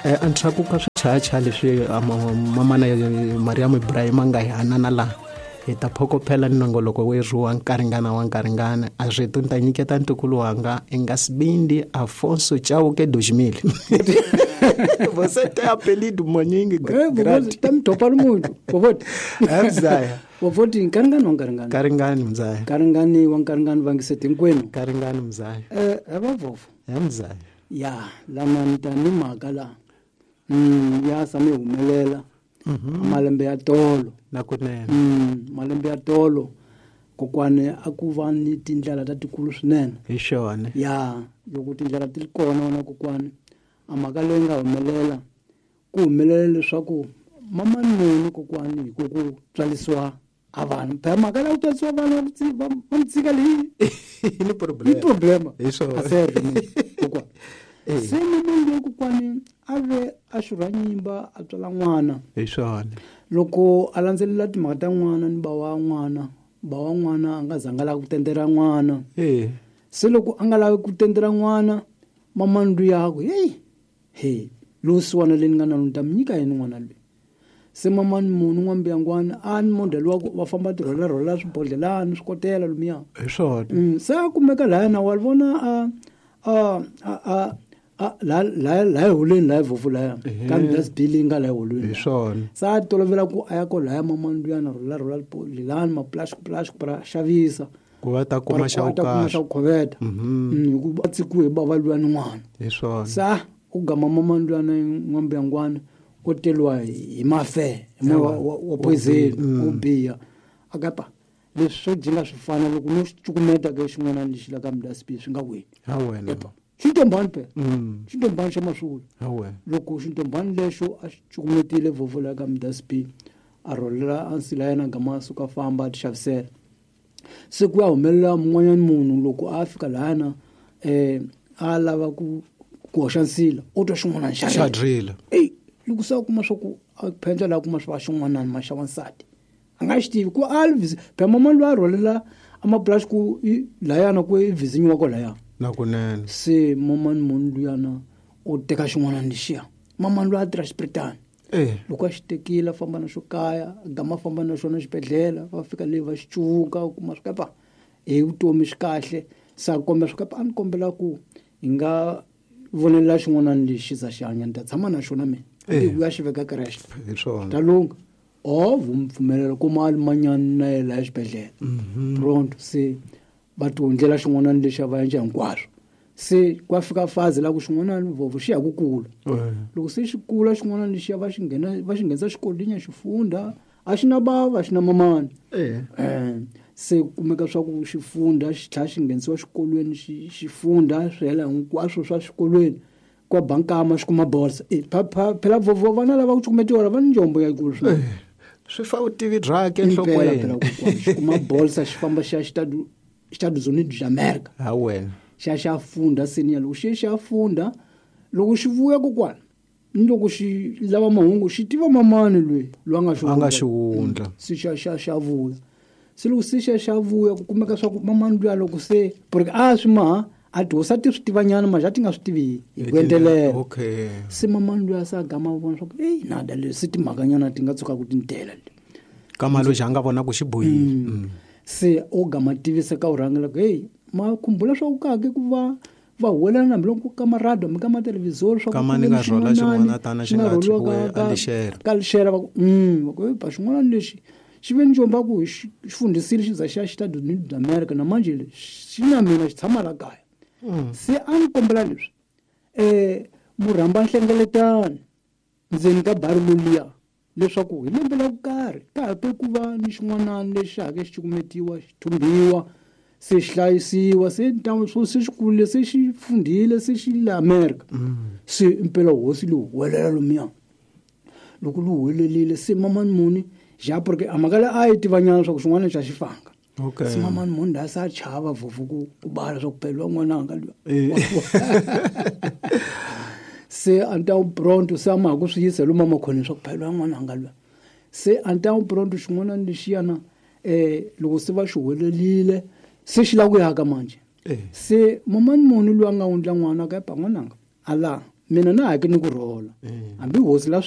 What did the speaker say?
Endzhaku ka swichayachaya leswi mamana Mariam Ibrahim a nga hi hanana laha hi ta phokophela ni nongoloko werhu wa nkaringana wa nkaringana a rito ni ta nyiketa ntukulu wanga i nga sibindi Afonso Chauke 2000 você tem apelido maningi ta mi dopa muntu vovoti mzaya vovoti nkaringani wa nkaringani nkaringani mzaya nkaringani wa nkaringani vangiseti hinkwenu nkaringani mzaya vavovo mzaya ya lama ni ta ni mhaka laha ya sami humelela malembe ya tolo na kunene malembe ya tolo kokwani a ku va ni tindlela ta tikulu swinene hi xona ya loko tindlela ti ri kona wona kokwani a mhaka leyi nga humelela ku humelela leswaku mamanoni kokwani hi ku ku tswalisiwa a vanhu phela mhaka leyi ku tswalisiwa vanhu va mi tshika leyi ni ni problema hi swona kokwani se mamani loyi kokwani a ve a xurha nyimba a tswala n'wana hi swona loko a landzelela timhaka ta n'wana ni ba wa n'wana ba wa n'wana a nga zanga lava ku tendera n'wana se loko a nga lavi ku tendera n'wana mamani luya ku heyi he lowusiwana leyi ni nga na ni ta mi nyika yini n'wana loyi se mamani munhu n'wambiyangwana a ni model wa ku va famba ti rhwala rhwala swibodlelani swikotela lomuya hi swona se a kumeka laya na wa vona a laha eholweni laha vofu laya kambe dustbin leyi nga laha eholweni hi swona se a tolovela ku a ya ko laya mamani luyana rhwala rhwala lelani maplastic plastic pra xavisa ku va ta kuma xa ta kuma xa ku khoveta hikuva a tsikiwe hi bava luya ni n'wana hi swona sa u gama mamani luyana n'wambiyangwana u teliwa hi mafe hi moya wa poison wo biha a kapa leswi swo jinga swi fana loko no cukumeta ke xin'wana lexi la ka mudasibini swi nga weli ha wena xintombani phela xintombani xa maswula ha wena loko xintombani lexo a xi cukumetile vovo la ka mudasibini a rholela a nsila yena gama a suka famba a ti xavisela se ku ya humelela mun'wanyana munhu loko a fika lahana a lava ku hoxa nsila u twa xin'wanani xa rila eyi loko se a kuma swa ku a phendla laha kuma swa xin'wanani maxa wansati a nga xi tivi ku a phela mamani loyi a rhwalela amapulasi ku layana ku i vizinyiwa ko laya na kunene se mamani munhu luyana u teka xin'wanani lexiya mamani loyi a tirha xipiritani loko a xi tekile a famba na xo kaya gama a famba na xona xibedhlele va fika le va xi cuvuka u kuma swi kapa hi vutomi swi kahle se a kombela swi kapa a ni kombela ku hi nga vonelela xin'wanani lexi za xi hanya ni ta tshama na xona mina ku ya xi veka creche hi swona ta lungha o pfumelela kuma a limanyani na ye laha xibedhlele pronto se va ti hundlela xin'wanani lexi a va endla hinkwaswo se kwa fika fazi la ku xin'wanani vovo xi ya ku kula loko se xi kula xin'wanani lexiya va xi nghena va xi nghenisa xikolweni xi funda a xi na bava xi na mamani se kumeka swa ku xi funda xi tlhela xi nghenisiwa xikolweni xi funda swi hela hinkwaswo swa xikolweni kwa bankama xi kuma bolsa phela vovo vana lava ku cukumetiwa va ni njombo yikulu swinene swi fa vutivi byakhe enhlokweni xi kuma bolsa xi famba xi ya Estados Unidos da America ha wena xa xa funda senior loko xi xa funda loko xi vuya kokwana ni loko xi lava mahungu xi tiva mamani loyi loyi a nga xi wundla se xa xa xa vuya se loko se xa xa vuya ku kumeka swa ku mamani luya loko se porque a swi maha a tihosi a ti swi tivanyana manje a ti nga swi tivi hi ku endelela okay se mamani luya se a gama vona swa ku eyi nada leswi se timhakanyana ti nga tshuka ku ti ni tela le kama loyi a nga vona ku xi bohile se o gama tivisa ka urhangela ku heyi ma khumbula swa ku kake ku va va huwelela hambi loko ka marado hambi ka mathelevhizori swa Kama ni nga rhola xin'wana tana xi nga tshikiwe a lixera. ka lixera va ku va ku ba xin'wana lexi xi ve njomba ku xi fundisile xi za xi ya Estados Unidos da America na manje xi na mina xi tshama la kaya se a ni kombela leswi murhamba nhlengeletano ndzeni ka bari loluya leswaku hi lembe la ku karhi ka ha te ku va ni xin'wanani lexi hake xi cukumetiwa xi thumbiwa se xi hlayisiwa se ntamu swo se xi kurile se xi fundhile se xi le America se impela hosi lowu huwelela lomuya loko lu huwelelile se mamani muni ja porque a mhaka leyi a yi tivanyana swa ku xin'wana xa xi fanga okay se mamani muni la se a chava vofu ku bala swa ku phela n'wananga luya se a ni ta pronto se a ma ha ku swi yisa lomu amakhoneni swa ku phela n'wananga luya se a ni ta pronto xin'wana lexiyana loko se va xi huwelelile se xi lava ku yaka manje se mamani muni loyi a nga wundla n'wana ka ba n'wananga ala Mina na hake ni ku rhola. Hambi hosi la